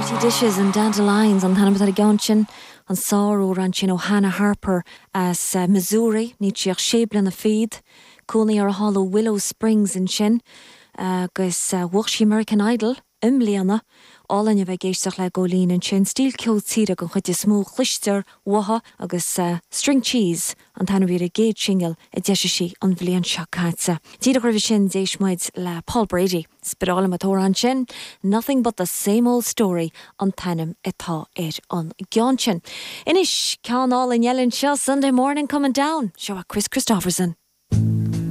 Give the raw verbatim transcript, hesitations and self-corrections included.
Dirty Dishes and Dandelions an t-ainm atá ar an gceann sin an sáramhrán sin ó Hannah Harper as uh, Missouri, níl sí ach sé bliana fichead, cónaí uirthi thall i Willow Springs ansin agus uh, bhuaigh sí American Idol i mbliana álainn a bheith ag éisteacht le Jolene ansin stíl ceol tíre den chuid is mó cloistear uaithi agus uh, String Cheese an t-ainm ar an gcéad singil a d'eisigh sí an bhliain seo caite. Díreach roimhe sin d'éist muid le Paul Brady. Spirála an sin, nothing but the same old story an t-ainm atá ar an gceann sin. Anois ceann álainn eile anseo Sunday morning coming down, seo Kris Kristofferson.